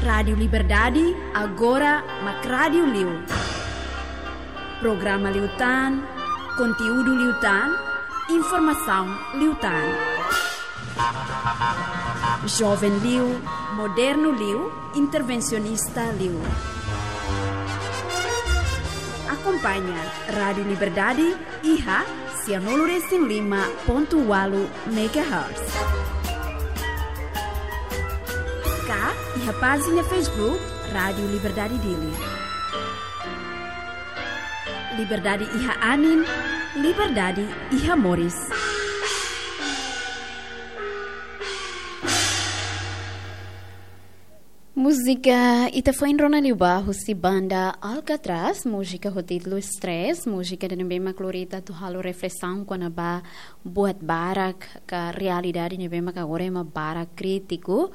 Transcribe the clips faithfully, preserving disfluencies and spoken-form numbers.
Rádiu Liberdade, agora mak rádiu liu. Programa liután, konteúdu liután, informasaun liután. Joven liu, modernu liu, intervensionista liu. Akompaña Rádiu Liberdade iha sianulu resin lima pontu ualu megahertz. Ka iha pájina Facebook Rádiu Liberdade Dili. Liberdade iha anin, liberdade iha moris. Múzika ita foin rona liubá husi banda Alcatraz, múzika ho títulu Stress, múzika ida ne'ebé mak lori ita atu halo reflesaun kona-ba buat barak ka realidade ne'ebé mak agora ema barak krítiku.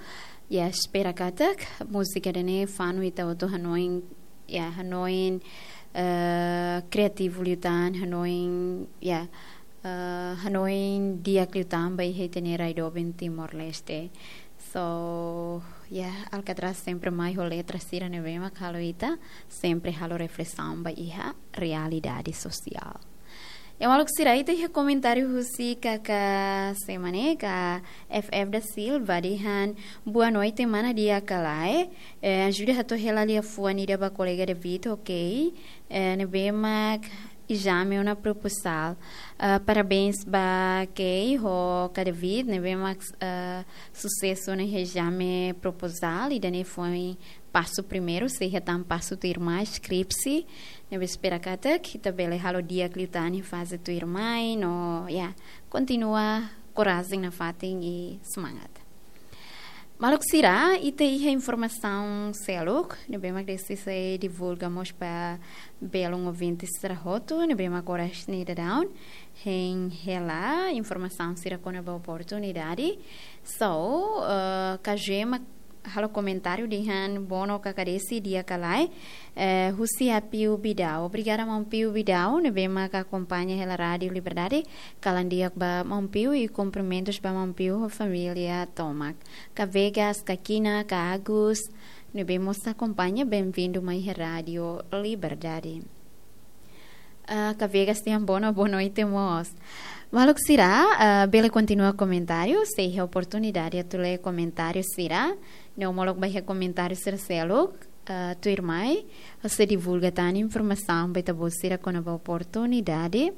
Ya, espera katak múzika ida-ne'e fanu ita hotu hanoin, ya, hanoin, eh, kriativu liután, hanoin, ya, eh, hanoin di'ak liután ba iha ita-nia rai doben Timor-Leste. So, ya, Alcatraz sempre mai ho letra sira ne'ebé mak halo ita sempre halo reflesaun ba iha realidade sosiál. Ya, maluk sira, ita iha komentáriu husi Kaka Semane, ka F F da Silva dehan, "Boa noite, mana di'ak ka lae? Eh, ajuda hato'o hela liafuan ida ba kolega David, ok? Eh, ne'ebé mak ezame ona proposal. Ah, parabéns ba Kei ho ka David, ne'ebé mak, ah, susesu ona iha ezame proposal, ida-ne'e foin pasu primeiru, sei iha tan pasu tuirmai, skripsi, ne'ebé espera katak ita bele halo di'ak liután iha faze tuirmai, no, ya, kontinua korajen nafatin i semangat." Maluk sira, ita iha informasaun seluk ne'ebé mak desi sei divulga mós ba belun ouvinte sira hotu, ne'ebé mak oras ne'e daudaun hein hela informasaun sira kona-ba oportunidade. So, eh, Kajema halo komentáriu dehan, "Bono Kaka Desi, di'ak ka lae, eh, husi Apiu Bidau." Obrigada, maun Piu Bidau, ne'ebé mak akompaña hela Rádiu Liberdade. Kalan di'ak ba maun Piu i kumprimentus ba maun Piu ho família tomak. Ka Vegas, ka Kina, ka Agus, ne'ebé mós akompaña, benvindu mai iha Rádiu Liberdade. Ah, ka Vegas dehan bono, boa noite mós. Maluk sira, ah, bele kontinua komentáriu, sei iha oportunidade atu lee komentáriu sira. No molok ba iha komentáriu sira seluk, ah, tuirmai, ha'u sei divulga tan informasaun ba ita-boot sira kona-ba oportunidade.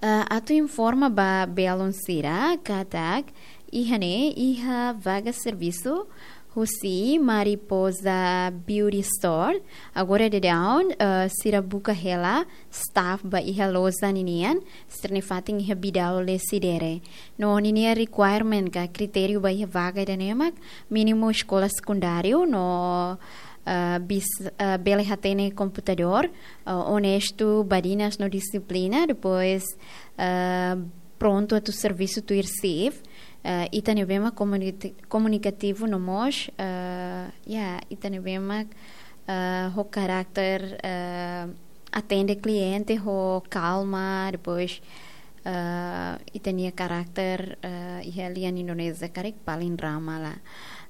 Ah, atu informa ba belun sira katak iha ne'e iha vaga servisu husi Mariposa Beauty Store. Agora daudaun, eh, sira buka hela staff ba iha loja ninian, sira-nia fatin iha Bidau Lecidere. No ninia requirement ka kritériu ba iha vaga ida-ne'e mak mínimu eskola sekundáriu no, eh, bis-, eh, bele hatene komputadór, eh, onestu, badinas no dixiplina, depois, eh, prontu atu servisu tuir shift, eh, ita ne'ebé mak komuniti-, komunikativu no mós, eh, ya, ita ne'ebé mak, eh, ho karakter, eh, atende kliente ho kalma, depois, eh, ita-nia karakter, eh, iha lian Indonézia karik paling ramah lah.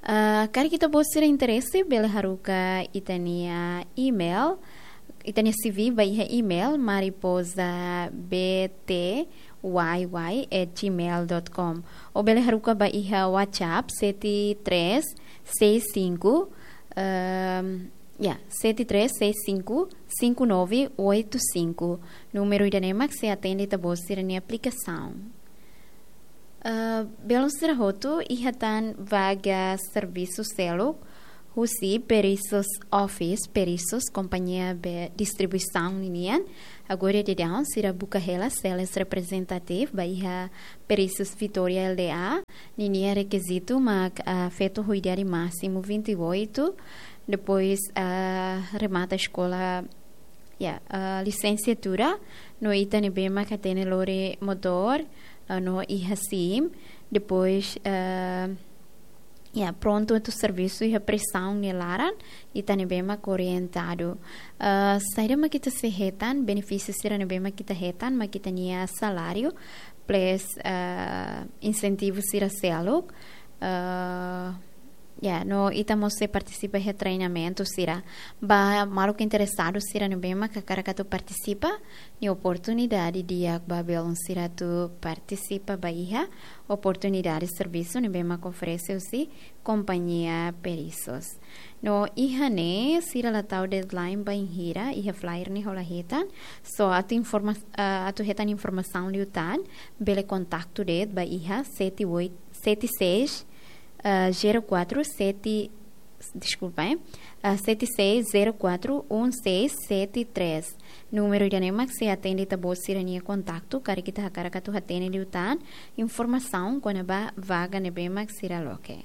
Eh, karik ita-boot sira interese, bele haruka ita-nia email, ita-nia C V ba iha email mariposa B T Y Y at gmail dot com. Ou bele haruka ba iha WhatsApp sete três seis cinco, ehm, ya, sete três seis cinco, cinco nove oito cinco. Númeru ida-ne'e mak sei atende ita-boot sira-nia aplikasaun. Eh, belun sira hotu, iha tan vaga servisu seluk husi Perisus Office, Perisus, kompañia be distribuisaun ninian. Agora daudaun sira buka hela sales representative ba iha Perisus Vitória L D A. Ninia rekizitu mak, ah, feto ho idade másimu vinte e oito, depois, ah, remata eskola, ya, ah, lisensiatura, no ita ne'ebé mak hatene lori motór, ah, no iha sim, depois, ah, ya, prontu atu servisu iha prizaun nia laran, ita ne'ebé mak orientadu. Ah, saida mak ita sei hetan, benefísiu sira ne'ebé mak ita hetan, mak ita-nia saláriu, plus, ah, insentivu sira seluk, ah, Ya, no ita mós sei partisipa iha treinamentu sira. Ba maluk interesadu sira ne'ebé mak hakarak atu partisipa, nia oportunidade di'ak ba belun sira atu partisipa ba iha oportunidade servisu ne'ebé mak oferese husi kompañia Perissos. No iha ne'e sira la tau deadline bainhira iha flyer ne'e hola hetan. So atu informa-, ah, atu hetan informasaun liután, bele kontaktu de'it ba iha sete oito, sete seis, ah, zero quatro sete, deskulpa, eh, ah, sete seis zero quatro um seis sete três. Númeru ida-ne'e mak sei atende ita-boot sira-nia kontaktu, karik ita hakarak atu hatene liután informasaun kona-ba vaga ne'ebé mak sira loke.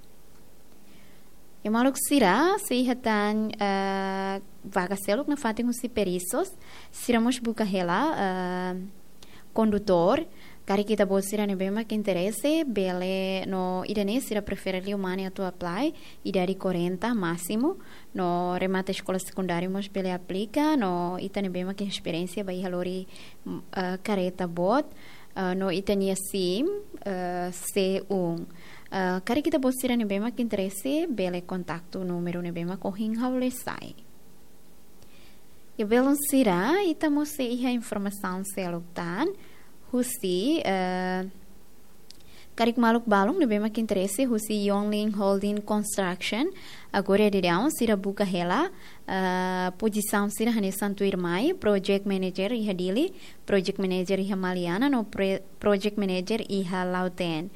I maluk sira, sei iha tan, ah, vaga seluk nafatin husi Perissos, sira mós buka hela, ah, kondutór, karik ita-boot sira ne'ebé mak interese, bele no ida-ne'e sira prefere liu mane atu apply, idade quarenta másimu, no remata eskola sekundáriu mós bele aplika, no ita ne'ebé mak esperiénsia ba iha lori, mm, ah, karreta boot, ah, no ita-nia sim, ah, C um. Ah, karik ita-boot sira ne'ebé mak interese, bele kontaktu númeru ne'ebé mak ohin ha'u lee sai. Ya belun sira, ita mós sei iha informasaun seluk tan husi, eh, karik maluk balun ne'ebé mak interese husi Yonglin Holding Construction. Agora daudaun sira buka hela, eh, pozisaun sira hanesan tuirmai, Project Manager iha Dili, Project Manager iha Maliana, no pre-, Project Manager iha Lautém.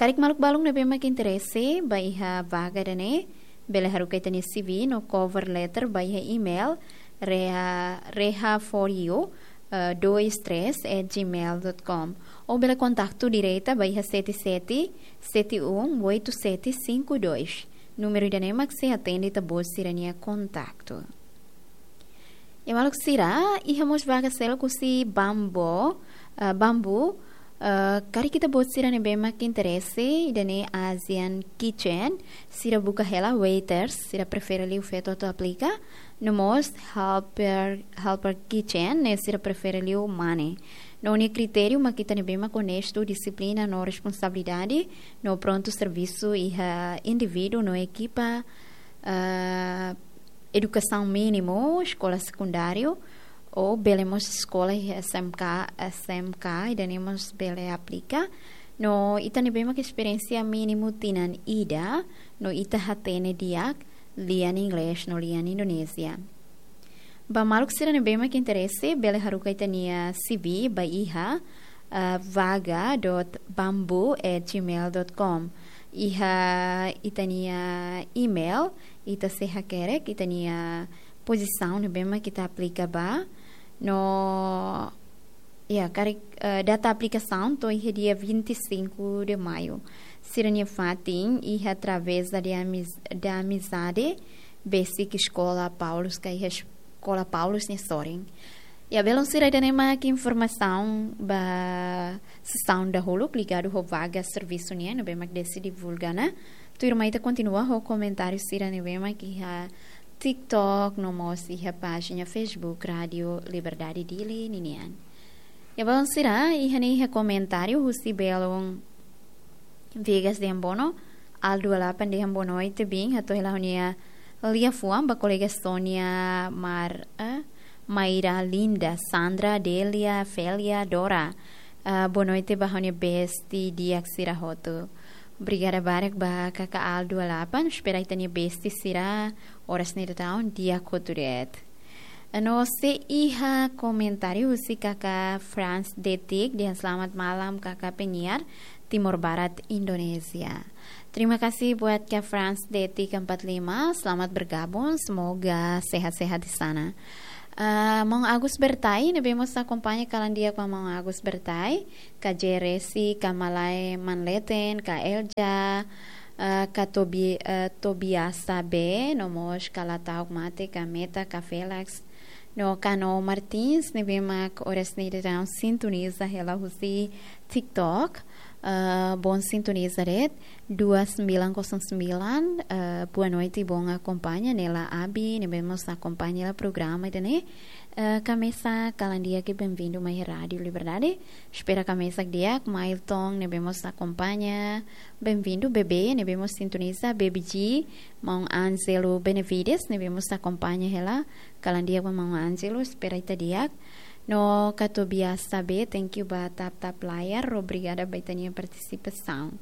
Karik maluk balun ne'ebé mak interese ba iha vaga ida-ne'e, bele haruka ita-nia C V no cover letter ba iha email reha, reha for you, eh, dois três at gmail dot com. Ou bele kontaktu direta ba iha sete sete sete um oito sete cinco dois. Númeru ida-ne'e mak sei atende ita-boot sira-nia kontaktu. I maluk sira, iha mós vaga seluk husi Bambu, eh, Bambu, eh, karik ita-boot sira ne'ebé mak interese, ida-ne'e Asian Kitchen, sira buka hela waiters, sira prefere liu feto atu aplika, no mós helper, helper kitchen, ne'e sira prefere liu mane. No nia kritériu mak ita ne'ebé mak onestu, dixiplina no responsabilidade, no prontu servisu iha indivíduu no ekipa, eh, edukasaun mínimu, eskola sekundáriu, ou bele mós eskola iha S M K, S M K, ida-ne'e mós bele aplika. No ita ne'ebé mak esperiénsia mínimu tinan ida, no ita hatene di'ak lian Inglés no lian Indonézia. Ba maluk sira ne'ebé mak interese, bele haruka ita-nia C V ba iha, eh, vaga dot bambu at gmail dot com. Iha ita-nia email, ita sei hakerek ita-nia pozisaun ne'ebé mak ita aplika ba. No, ya, karik, eh, data aplikasaun to'o iha dia vinte e cinco de maio. Sira-nia fatin iha Travessa de Amiz-, da Amizade, besik Eskola Paulus ka iha Eskola Paulus nia sorin. Ya belun sira, ida-ne'e mak informasaun ba sesaun dahuluk ligadu ho vaga servisu nian ne'ebé mak Desi divulga ona. Tuirmai ita kontinua ho komentáriu sira ne'ebé mak iha TikTok, no mós iha pájina Facebook Rádio Liberdade Dili ninian. Ya belun sira, iha ne'e iha komentáriu husi belun Viegas de Ambono, Aldo Alapan de Ambono, ita bin, hato'o hela ha'u-nia liafuan ba kolega Sonia, Mar, eh, Maira, Linda, Sandra, Delia, Felia, Dora. Ah, boa noite ba ha'u-nia bestie di'ak sira hotu. Obrigada barak ba kaka Aldo Alapan, espera ita-nia bestie sira oras ne'e daudaun di'ak hotu de'it. No sei iha komentáriu husi kaka Franz Detik, dehan selamat malam kaka penyiar, Timor Barat, Indonesia. Terima kasih buat kaka Franz Detik empat lima, selamat bergabung, semoga sehat-sehat di sana. Ah, Maun Agus Bertai, ne'ebé mós akompaña kalan di'ak ba Maun Agus Bertai, ka Jeresi, ka Malai Manleten, ka Elja, ah, ka Tobi-, ah, Tobiasa B, no mós ka la ta'uk mate, ka Meta, ka Felix, no ka No Martins, ne'ebé mak oras ne'e daudaun sintoniza hela husi TikTok. Ah, bom sintoniza de'it, dua sembilan kosong sembilan, ah, boa noite, bom akompaña, ne'e la Abi, ne'ebé mós akompaña hela programa ida-ne'e. Ah, kamesak kalan di'ak, benvindu mai Rádiu Liberdade. Espera kamesak di'ak, Mailton, ne'ebé mós akompaña, benvindu, Bebé, ne'ebé mós sintoniza, Baby G, Maun Ângelo Benevides, ne'ebé mós akompaña hela, kalan di'ak ba Maun Ângelo, espera ita di'ak. No katuas be, thank you ba tap tap layar, obrigada ba ita-nia partisipasaun.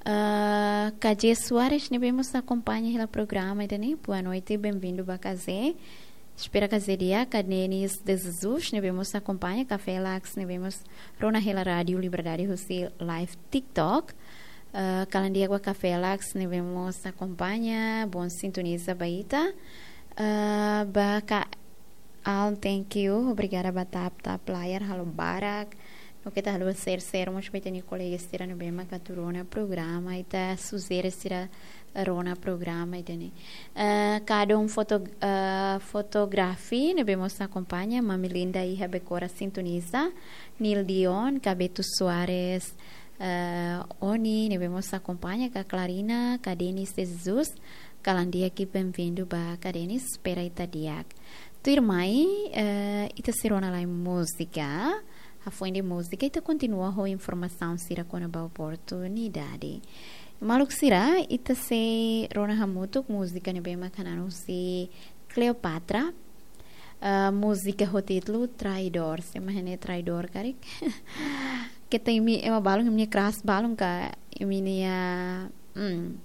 Ah, K J Soares, ne'ebé mós akompaña hela programa ida-ne'e, boa noite, benvindu ba K J. Espera K J di'ak, Kadenis de Jesus, ne'ebé mós akompaña, Café Lax, ne'ebé mós rona hela Rádiu Liberdade husi live TikTok. Ah, kalan di'ak ba Café Lax, ne'ebé mós akompaña, bom sintoniza ba ita. Ah, ba Ka Al, thank you. Obrigada ba tap tap layar, halo barak. No keta halo share share mós ba ita-nia kolega sira ne'ebé maka atu rona programa, ita sujere sira rona programa ida-ne'e. Eh, Kadon foto, eh, fotografi ne'ebé mós akompaña, Mami Linda iha Bekora sintoniza, Nil Dion, Kabetu Soares, eh, Oni ne'ebé mós akompaña, Ka Clarina, Kadenis de Jesus, kalan di'ak, benvindu ba Kadenis, espera ita di'ak. Tuirmai, eh, ita sei rona lai múzika. Hafoin de múzika, ita kontinua ho informasaun sira kona-ba oportunidade. Maluk sira, ita sei rona hamutuk múzika ne'ebé maka hanan husi Cleopatra. Ah, múzika ho títulu Traidór. Sé mak hatene traidór karik? Keta imi, ema balun, imi-nia crush balun ka, imi-nia, hmm,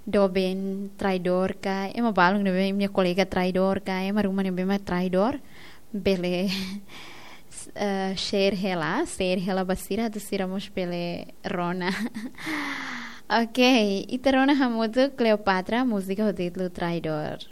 doben traidór ka, ema balun ne'ebé imi-nia kolega traidór ka, ema ruma ne'ebé mak traidór, bele, eh, share hela, share hela ba sira, atu sira mós bele rona. Ok, ita rona hamutuk Cleopatra, múzika ho títulu Traidór.